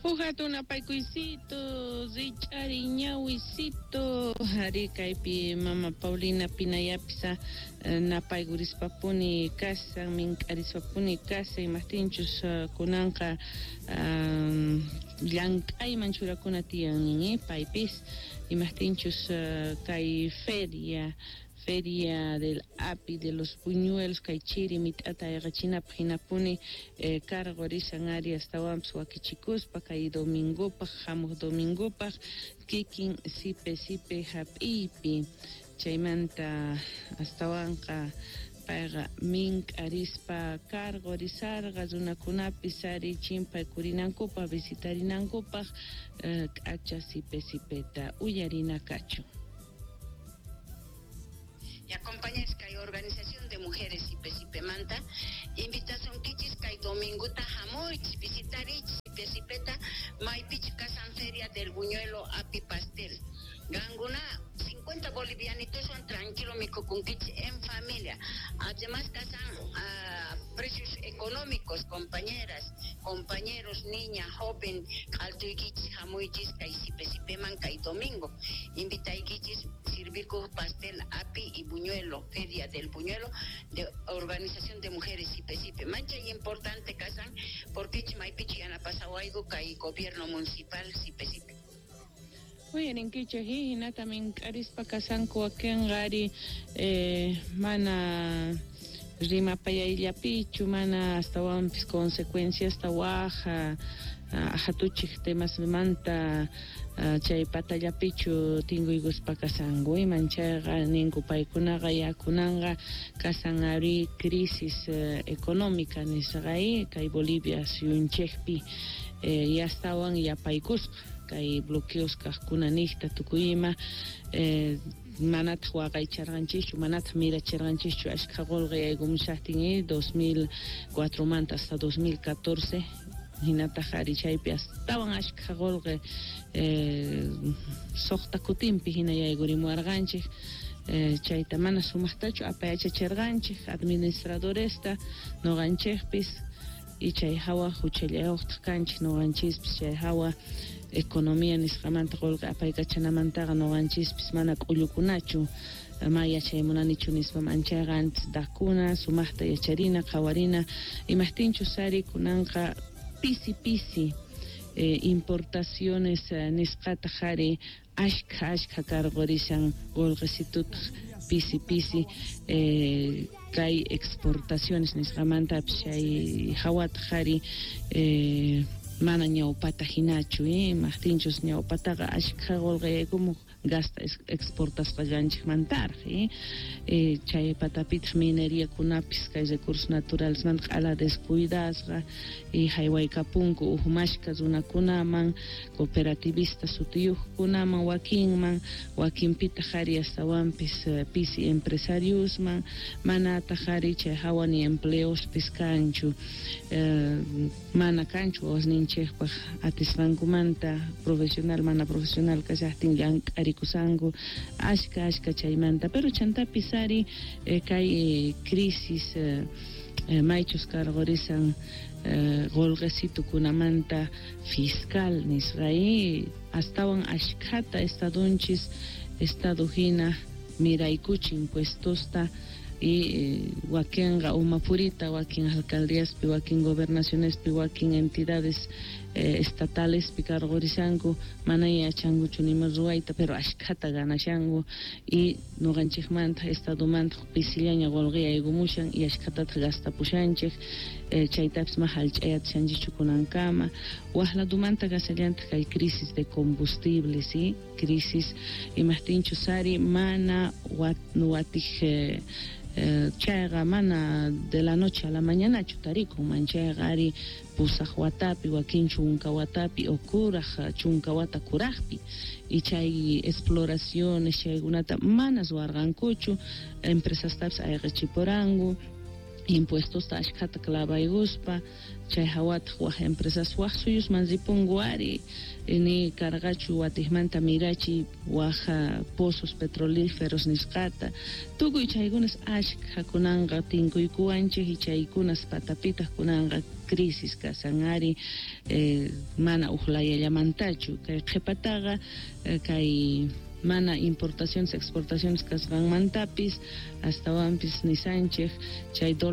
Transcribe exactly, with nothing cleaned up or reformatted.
Uj napaykuysito, rich'ari ñawisito, ari kaypi mama Paulina Pinayapisa napaykurispa-puni kasan, mink'arispapuni kasan, imajtinchus kunanqa llank'ayman churakuna tiyan nin, paypis imajtinchus kay feria Feria del Api de los Buñuelos kay chiri mit'ata ayqachinapaq hinapuni eh, cargo risan ari astawanpis wakichikuspa kay domingopaq hamuq domingopaq kikin sipe sipe hap'iypi chaymanta astawanqa payqa mink'arispa cargo risarqa runakunapis ari chimpaykurinankupaq visitarinankupaq eh, k'acha sipe sipeta uyarina kachun. Y acompañáis kay organización de mujeres Sipe Sipemanta invitasunkichis kay domingota hamuychis visitarich Sipe Sipeta maypichus kasan feria del buñuelo api pastel qankuna cincuenta bolivianitoswan tranquilo mikhukunkichis en familia. Además kasan uh, precios económicos, compañeras, compañeros, niña, joven, q'altuykichis hamuychis kay Sipe Sipeman kay domingo invitaykichis sirviku pastel api y buñuelo, feria del buñuelo de organización de mujeres Sipe Sipe. Manchay importante kasan porque maypichu yanapasawayku kay gobierno municipal Sipe Sipe. Uyarinkichej hinata mink'arispa kasanku wakinqa ari eh, mana rimapayayllapichu mana astawanpis consecuenciasta waj hatuchij temasmanta chay patallapichu tinkuykuspa kasanku iman chayqa ninku paykunaqa yakunanqa kasan ari crisis económica nisqa kay Bolivia suyunchikpi eh, yastawan yapaykusqa kay bloqueos kaqkuna niqta tukuy ima eh, manataq waqaycharqanchikchu manataq mirachirqanchikchu ashkha qullqi yaykumushaqtin eh, dos mil cuatro manta hasta dos mil catorce hinataq ari chaypi astawan ashkha qullqi eh, suqta kutinpi hina yaykurimuwarqanchik eh, chayta mana sumaqtachu apayachachirqanchik administradoresta nuqanchikpis y chay hawa huchallayuqtaq kanchik nuqanchispis chay hawa economía nisqamanta qullqi apaykachanamantaqa nuqanchispis mana k'ullukunachu ma yachay munanichu nispa manchayqa antes dakuna sumaqta yacharina qhawarina imajtinchus ari kunanqa pisi pisi eh, importaciones eh, nisqataq ari ashkha ashkha karqurishan qullqisitutaq pisi pisi eh, kay exportaciones nisqamantapis chay hawataq ari eh, mana ñawpata hinachu eh, imajtinchus ñawpataqa ashkha qullqi yaykumuq gasta exportasqallanchikmantaraq eh, eh, chay patapitaq mineriakunapis kay recursos naturales manta q'ala descuidasqa y haywaykapunku uhmashka runakunaman cooperativista sutiyuqkunaman wakinman wakinpitaq ari astawanpis pisi empresariosman manataq ari chay hawa ni empleospis kanchu eh, mana kanchu wawasninchikpaq atisqankumanta profesional mana profesional kashaqtin llank'arikusanku ashka ashka chaymanta pero chantapis ari eh, kay eh, crisis eh, eh, maychus karqurisan eh, qullqisitukunamanta fiscal nisqa astawan ashkhata estadunchis estado hina miraykuchi impuestosta y eh, wakinqa umapurita wakin alcaldíaspi wakin gobernacionespi wakin entidades eh, estatales karqurisanku mana yachankuchu nima ruwayta pero ashkhata ganashanku y nuqanchikmanta estadomanta pisillaña qullqi yaykumushan y ashkhatataq gastapushanchik eh, chaytapis ma hallch'ayatishanchikchu kunankama waj ladumanta kasallantaq kay crisis de combustible, ¿sí? Crisis imajtinchus ari mana wat, watij eh, Eh, chayqa mana de la noche a la mañanachu tarikun manchayqa ari pusaq watapi wakin chunka watapi o kuraj chunka wata kurajpi y chay exploraciones chaykunata mana ruwarqankuchu empresastapis ayqichipuranku Impuestosta ashkhata clavaykuspa chay hawataq waj empresas waj suyusman ripunku ari ni karqachu watijmanta mirachiy waj pozos petrolíferos nisqata tukuy chaykunas ashkha kunanqa tinkuykuwanchik y chaykunas patapitaq kunanqa crisis kasan ari eh, mana uj layallamantachu kay qhipataqa eh, kay mana importaciones exportaciones kasqanmantapis astawanpis nisanchik chay